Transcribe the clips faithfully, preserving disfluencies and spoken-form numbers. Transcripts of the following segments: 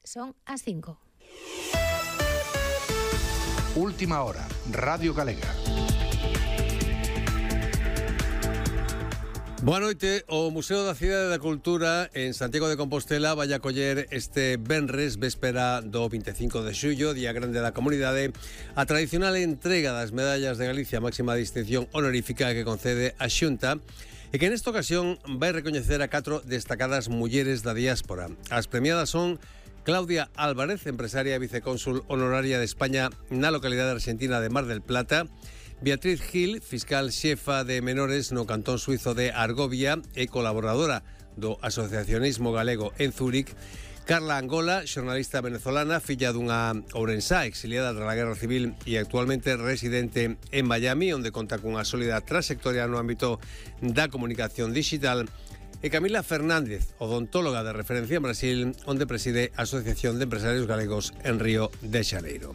Son as cinco. Última hora, Radio Galega. Boa noite. O Museo da Cidade da Cultura en Santiago de Compostela vai acoller este venres, véspera do vinte e cinco de xullo, Día Grande da Comunidade, a tradicional entrega das medallas de Galicia, máxima distinción honorífica que concede a Xunta, e que nesta ocasión vai recoñecer a catro destacadas mulleres da diáspora. As premiadas son Claudia Álvarez, empresaria e vicecónsul honoraria de España na localidade argentina de Mar del Plata; Beatriz Gil, fiscal xefa de menores no cantón suizo de Argovia e colaboradora do asociacionismo galego en Zúrich; Carla Angola, xornalista venezolana, filla dunha ourensá exiliada tras a Guerra Civil e actualmente residente en Miami, onde conta cunha sólida trayectoria no ámbito da comunicación digital; e Camila Fernández, odontóloga de referencia en Brasil, onde preside a Asociación de Empresarios Galegos en Río de Xaneiro.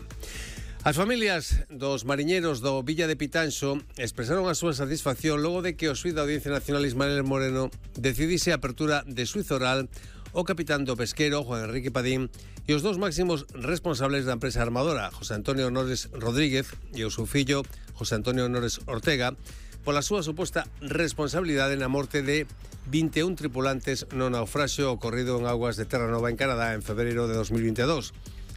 As familias dos mariñeros do Villa de Pitanxo expresaron a súa satisfacción logo de que o xuíz da Audiencia Nacional Ismael Moreno decidise a apertura de xuízo oral o capitán do pesquero, Juan Enrique Padín, e os dous máximos responsables da empresa armadora, José Antonio Honores Rodríguez e o seu fillo, José Antonio Honores Ortega, pola súa suposta responsabilidade na morte de vinte e un tripulantes no naufraxio ocorrido en augas de Terranova, en Canadá, en febreiro de dos mil vinte e dous.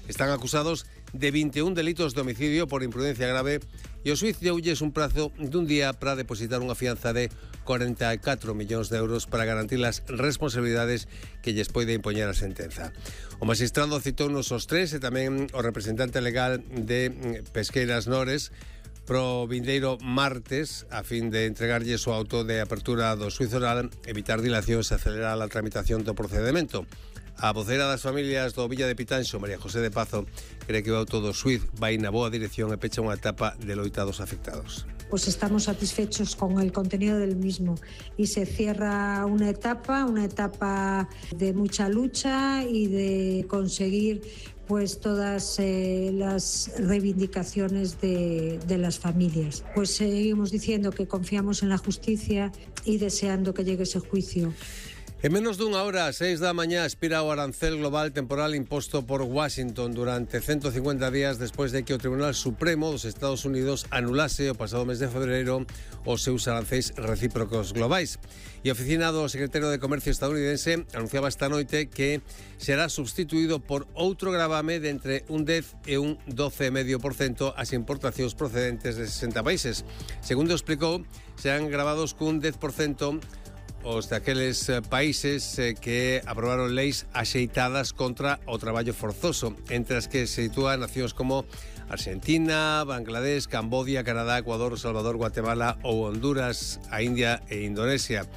Están acusados de vinte e un delitos de homicidio por imprudencia grave e o xuíz deulles un prazo dun día para depositar unha fianza de cuarenta e catro millóns de euros para garantir as responsabilidades que lles poide impoñer a sentenza. O magistrado citounos os tres e tamén o representante legal de Pesqueiras Nores pro vindeiro martes a fin de entregarlles o auto de apertura do xuízo oral, evitar dilacións e acelerar a tramitación do procedemento. A vocera das familias do Villa de Pitanxo, María José de Pazo, cree que o auto do xuíz vai na boa dirección e pecha unha etapa de loita dos afectados. Pues estamos satisfechos con el contenido del mismo y se cierra una etapa, una etapa de mucha lucha y de conseguir pues todas eh, las reivindicaciones de, de las familias. Pues seguimos diciendo que confiamos en la justicia y deseando que llegue ese juicio. En menos dunha hora, a seis da mañá, expira o arancel global temporal imposto por Washington durante ciento cincuenta días despois de que o Tribunal Supremo dos Estados Unidos anulase o pasado mes de febreiro os seus arancéis recíprocos globais. E a oficina do secretario de Comercio estadounidense anunciaba esta noite que será substituído por outro gravame de entre un dez e un doce vírgula cinco por cento as importacións procedentes de sesenta países. Segundo explicou, serán gravados cun dez por cento os daqueles países que aprobaron leis axeitadas contra o traballo forzoso, entre as que se sitúan nacións como Argentina, Bangladesh, Cambodia, Canadá, Ecuador, Salvador, Guatemala ou Honduras, a India e Indonesia.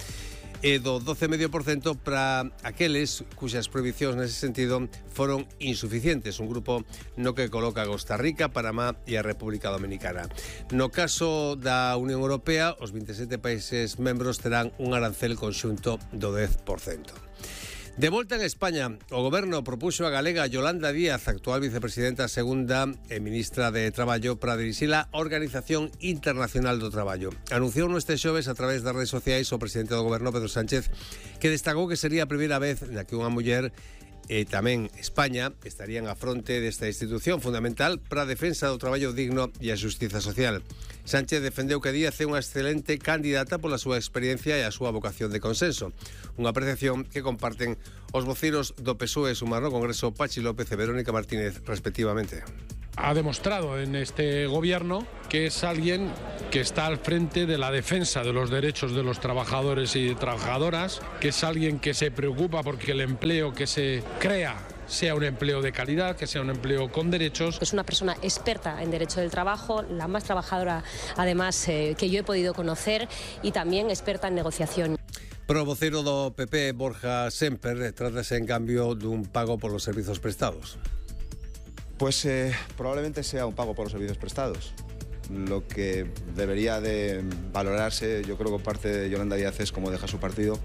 E do doce vírgula cinco por cento para aqueles cuxas prohibicións nese sentido foron insuficientes, un grupo no que coloca Costa Rica, Panamá e a República Dominicana. No caso da Unión Europea, os vinte e sete países membros terán un arancel conxunto do dez por cento. De volta en España, o Goberno propuxo a galega Yolanda Díaz, actual vicepresidenta segunda e ministra de Traballo, para dirixir a Organización Internacional do Traballo. Anunciou neste xoves a través das redes sociais o presidente do Goberno, Pedro Sánchez, que destacou que sería a primeira vez na que unha muller e tamén España estarían a fronte desta institución fundamental para a defensa do traballo digno e a xustiza social. Sánchez defendeu que Díaz é unha excelente candidata pola súa experiencia e a súa vocación de consenso. Unha apreciación que comparten os vociros do P S O E Sumar no Congreso, Pachi López e Verónica Martínez, respectivamente. Ha demostrado en este gobierno que es alguien que está al frente de la defensa de los derechos de los trabajadores y trabajadoras, que es alguien que se preocupa porque el empleo que se crea sea un empleo de calidad, que sea un empleo con derechos. Es una persona experta en derecho del trabajo, la más trabajadora además eh, que yo he podido conocer, y también experta en negociación. Pero o vocero do P P, Borja Semper, trátase en cambio dun pago por los servizos prestados. Pues eh, probablemente sea un pago por los servicios prestados. Lo que debería de valorarse, yo creo que parte de Yolanda Díaz, es cómo deja su partido.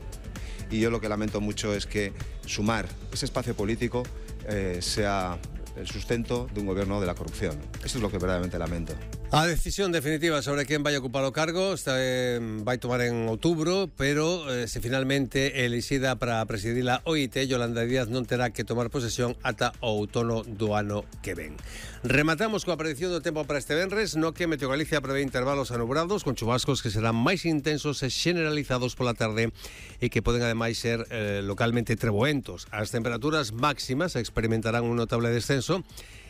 Y yo lo que lamento mucho es que Sumar, ese espacio político, eh, sea el sustento de un gobierno de la corrupción. Eso es lo que verdaderamente lamento. A decisión definitiva sobre quen vai ocupar o cargo está, eh, vai tomar en outubro, pero eh, se finalmente elixida para presidir a O I T, Yolanda Díaz non terá que tomar posesión ata o outono do ano que ven. Rematamos coa predicción do tempo para este venres, no que Meteo Galicia prevé intervalos anubrados con chubascos que serán máis intensos e generalizados pola tarde e que poden ademais ser eh, localmente treboentos. As temperaturas máximas experimentarán un notable descenso,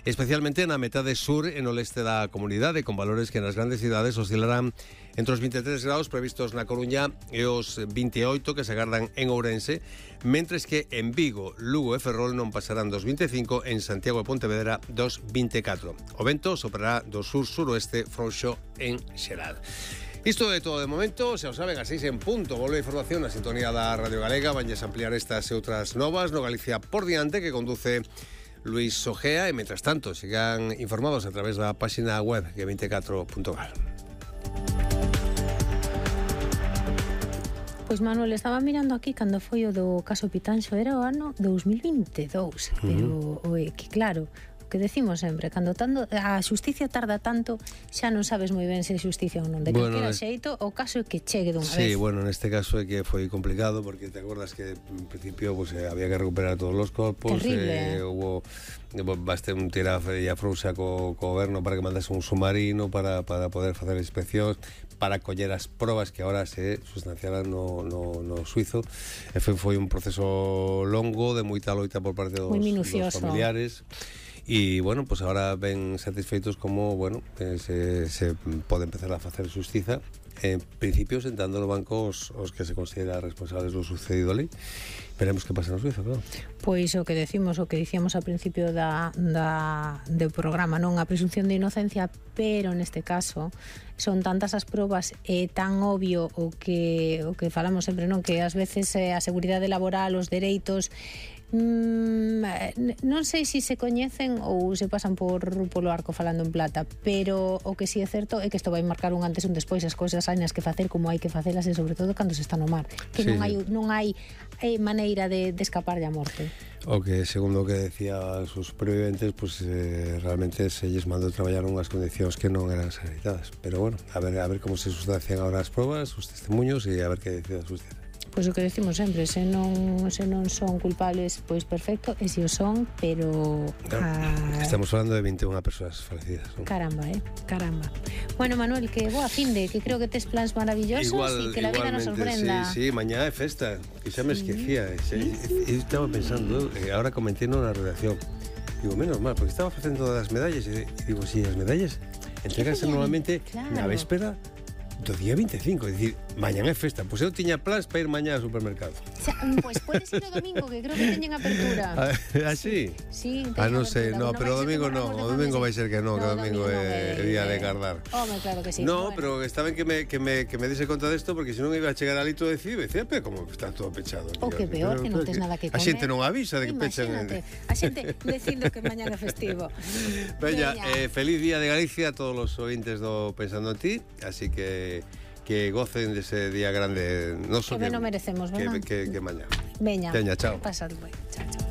especialmente na metade sur e no leste da comunidade, con valores que nas grandes cidades oscilarán entre os vinte e tres graus previstos na Coruña e os vinte e oito que se agardan en Ourense, mentres que en Vigo, Lugo e Ferrol non pasarán dos vinte e cinco, en Santiago e Pontevedra dos vinte e catro. O vento soprará do sur-suroeste frouxo en xeral. Isto é todo de momento, xa o saben, a seis en punto. Volve a información na sintonía da Radio Galega. Vanlles ampliar estas e outras novas no Galicia por diante, que conduce Luis Ojea, e mentras tanto sigan informados a través da página web G veinticuatro punto gal. Pois Manuel, estaba mirando aquí cando foi o do caso Pitanxo, era o ano dous mil vinte e dous, uh-huh. Pero o, que claro, o que decimos sempre, cando tanto, a xusticia tarda tanto, xa non sabes moi ben se é xusticia ou non. De bueno, calquera xeito, o caso é que chegue dunha sí, vez. Sí, bueno, neste caso é que foi complicado, porque te acordas que en principio pues, eh, había que recuperar todos os corpos. Terrible. Eh, hubo baste un tirafe e a frouxa co, co goberno para que mandase un submarino para, para poder facer inspeccións, para coller as probas que agora se sustanciaran no, no, no suizo. E foi, foi un proceso longo, de moita loita por parte dos, dos familiares. E, bueno, pues ahora ven satisfeitos como, bueno, eh, se, se pode empezar a facer xustiza, en principio sentando no banco os, os que se considera responsables do sucedido ali. Veremos que pasa no Suiza, claro. Pois o que decimos, o que dicíamos ao principio da, da, do programa, non a presunción de inocencia, pero neste caso son tantas as probas e tan obvio o que o que falamos sempre, non, que ás veces eh, a seguridade laboral, os dereitos, Mm, non sei se se coñecen ou se pasan por polo arco falando en plata, pero o que si é certo é que isto vai marcar un antes e un despois. As cousas hai nas que facer como hai que facelas, e sobre todo cando se está no mar, que sí, non hai non hai eh, maneira de, de escapar da morte. O que, segundo o que decía os superviventes, pues, eh, realmente se lles mandou traballar unhas condicións que non eran sanitadas. Pero bueno, a ver, a ver como se sustancian agora as probas, os testemunhos, e a ver que decide a justicia. Pois o que decimos sempre, se non se non son culpables, pois perfecto, e se o son, pero a... estamos falando de vinte e unha persoas falecidas, ¿no? Caramba, eh, caramba. Bueno, Manuel, que boa finde, que creo que tes plans maravillosos e que la vida nos sorprenda. Sí, sí, mañá é festa, que xa me esquecía. Sí, sí. Eu estaba pensando, eh, ahora comenté na redacción, digo, menos mal, porque estaba facendo das medallas, e digo, si, sí, as medallas entreganse normalmente claro. Na véspera do día vinte e cinco, é dicir, mañán é festa. Pois eu tiña plans para ir mañá ao supermercado. Xa, pois pode ser o domingo, que creo que teñen apertura. Ah, sí? Sí, ah, non sei, no, pero o domingo non, o domingo vai ser que non, que o domingo é día de cardar. Home, claro que sí. No, pero está ben que me, que me, que me dise conta desto, porque senón iba a chegar ali todo decido, e decía, pero como está todo pechado. O que peor, que non tes nada que comer. A xente non avisa de que pechan. A xente dicindo que mañán é festivo. Veña, eh, feliz día de Galicia a todos os ointes do Pensando en Ti, así que que gocen dese día grande, no so que, que non merecemos, verdad? Que, que, que mañá. Veña, Veña, chao. Pasad ben. Chao, chao.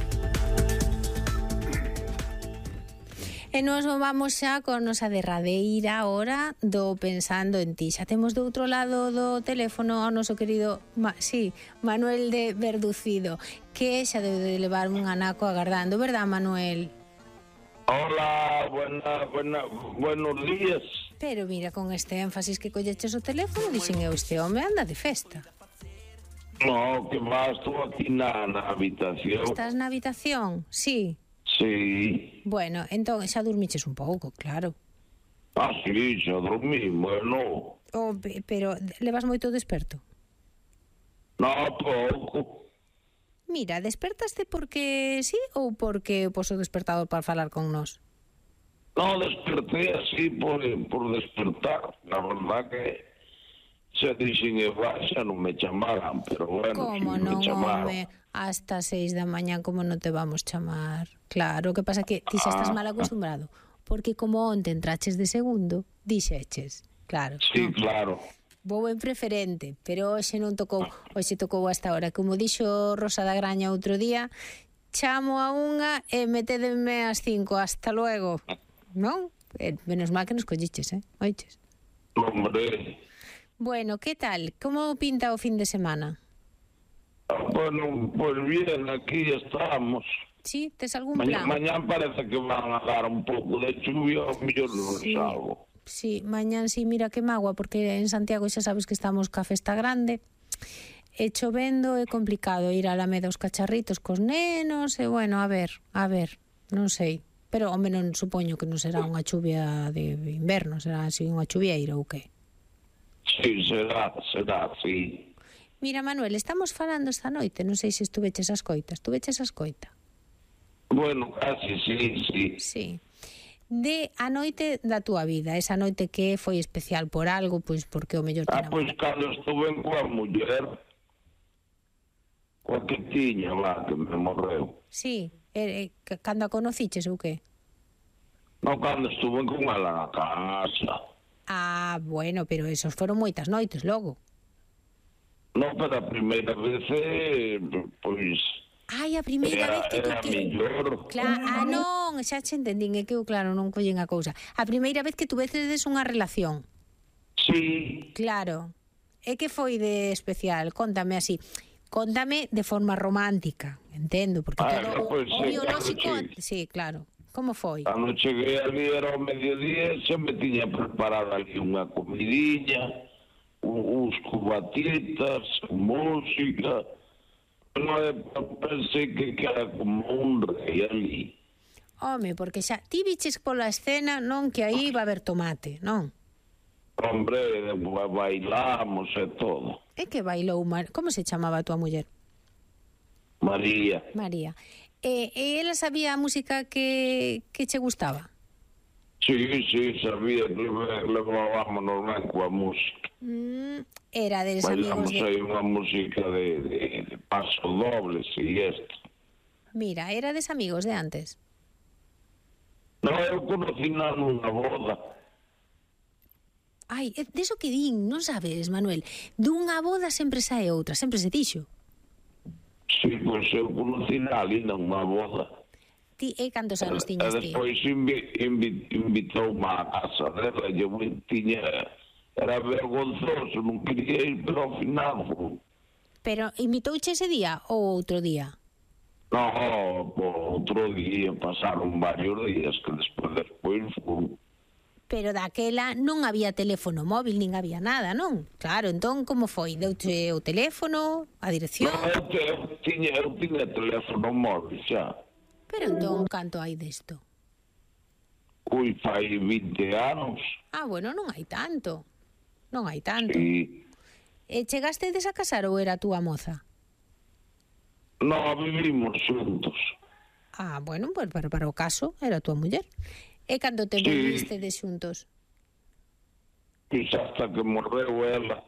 E nos vamos xa con nosa derradeira hora do Pensando en Ti. Xa temos do outro lado do teléfono ao noso querido, Ma, sí, Manuel de Verducido, que xa debe de levar un anaco agardando, verdad, Manuel? Hola, buena, buena, buenos días. Pero mira, con este énfasis que colleches o teléfono, dixen eu, este home anda de festa. No, que vas tú aquí na, na habitación. Estás na habitación? Sí. Sí. Bueno, entón xa dormiches un pouco, claro. Ah, sí, xa dormí, bueno. Oh, pero levas moito desperto? No, pouco. Mira, despertaste porque sí ou porque poso despertado para falar con nós? No, desperté así por, por despertar. La verdad que se dixen e xa non me chamaran, pero bueno, como si non, me chamaron. Home, hasta seis da mañán como non te vamos chamar? Claro, o que pasa que ti xa estás mal acostumbrado, porque como onte entraches de segundo, dixeches, claro. Sí, no? Claro. Vou en preferente, pero hoxe non tocou, hoxe tocou hasta ahora. Como dixo Rosa da Graña outro día, chamo a unha e metédenme ás cinco, hasta luego. Non? Eh, menos mal que nos colliches, eh? Oiches. Hombre. Bueno, ¿qué tal? ¿Cómo pinta o fin de semana? Bueno, pues bien, aquí estamos. Sí, ¿tes algún Mañá, plan? mañán parece que van a dar un pouco de chuvia, ao mellor non Sí. salgo. Sí, mañán sí, mira que magua, porque en Santiago xa sabes que estamos ca festa grande. E chovendo é complicado ir á Alameda aos cacharritos cos nenos, e bueno, a ver, a ver, non sei. Pero, home, non supoño que non será unha chuvia de inverno, será así unha chuvieira ou que? Sí, será, será, sí. Mira, Manuel, estamos falando esta noite, non sei se estuveches a escoita, estuveches a escoita? Bueno, casi, sí, sí. Sí. De a noite da túa vida, esa noite que foi especial por algo, pois porque o mellor te Ah, pois enamora. cando estuve coa muller, coa que tiña lá, que me morreu. Sí, eh, eh, cando a conociches ou que? Non, cando estuve con ela na casa. Ah, bueno, pero esos foron moitas noites logo. Non, pero a primeira vez, eh, pois... Ai, a primeira Era, vez que tú era que... mellor. Claro, ah, non, xa che entendín, é que eu, claro, non collen a cousa. A primeira vez que tuveces unha relación. Sí. Claro. E que foi de especial? Contame así. Contame de forma romántica, entendo, porque Ah, todo o, pois o sí, biolóxico... claro, sí. Sí, claro. Como foi? Cando cheguei ali era ao mediodía, xa me tiña preparado ali unha comidinha, un- uns cubatitas, música... No, pensei que, que era como un rei ali. Home, porque xa ti viches pola escena, non, que aí va a haber tomate, non? Hombre, ba- bailamos e todo. É que bailou, Mar... como se chamaba a tua muller? María. María. E, e ela sabía a música que, que che gustaba? Sí, sí, sabía que leve- levábamos ben coa música. Mm, era des amigos Bailamos de... aí unha música de, de, de paso doble, e isto. Mira, era des amigos de antes. Non, eu conocí na nunha boda. Ai, é deso que din, non sabes, Manuel? Dunha boda sempre sae outra, sempre se dixo. Sí, pois eu conocí na ali nunha boda. Ti, e cantos anos E tiñas ti? despois invi, invi, invitou-me á casa dela e eu tiña... Era vergonzoso, non quería ir, pero ao final... Pero invitouche ese día ou outro día? No, por outro día, pasaron varios días que despois, despois fui. Pero daquela non había teléfono móvil, nin había nada, non? Claro, entón, como foi? Deuche o teléfono, a dirección? No, eu, te, eu, tiña, eu tiña teléfono móvil xa. Pero entón, canto hai desto? Ui, fai vinte anos. Ah, bueno, non hai tanto. Non hai tanto. E E chegastedes a casar ou era a túa moza? no, vivimos xuntos. Ah, bueno, pues para, para o caso era a túa muller. E cando te Sí. vivistedes xuntos? Pois hasta que morreu ela.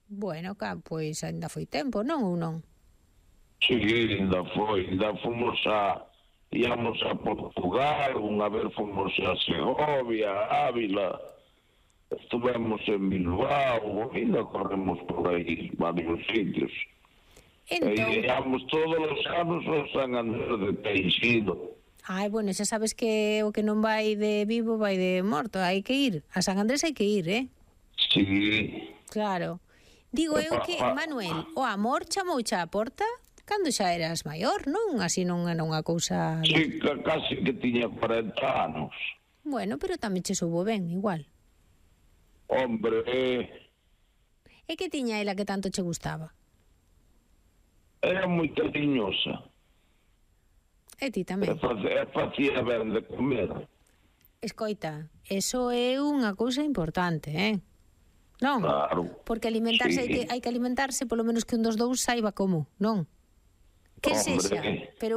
Bueno, ca, pois ainda foi tempo, non ou non? Sí, ainda foi. Ainda fomos a... Íamos a Portugal, unha vez fomos a Segovia, a Ávila, estuvemos en Bilbao, ainda corremos por aí varios sitios. E Entón, íamos todos os anos ao San Andrés de Teixido. ai, bueno, xa sabes que o que non vai de vivo vai de morto, hai que ir. A San Andrés hai que ir, eh? Sí. Claro. Digo eu que, Manuel, o amor chamouche á porta cando xa eras maior, non? Así non era unha cousa... Sí, que casi que tiña cuarenta anos. Bueno, pero tamén che soubo ben, igual. Hombre, eh, E que tiña ela que tanto che gustaba? era moi cariñosa. E ti E tamén. facía, facía ben de comer. Escoita, eso é unha cousa importante, eh? Non? Claro. Porque alimentarse Sí. hai que, hai que alimentarse polo menos que un dos dous saiba como, non? Que Hombre. sexa, pero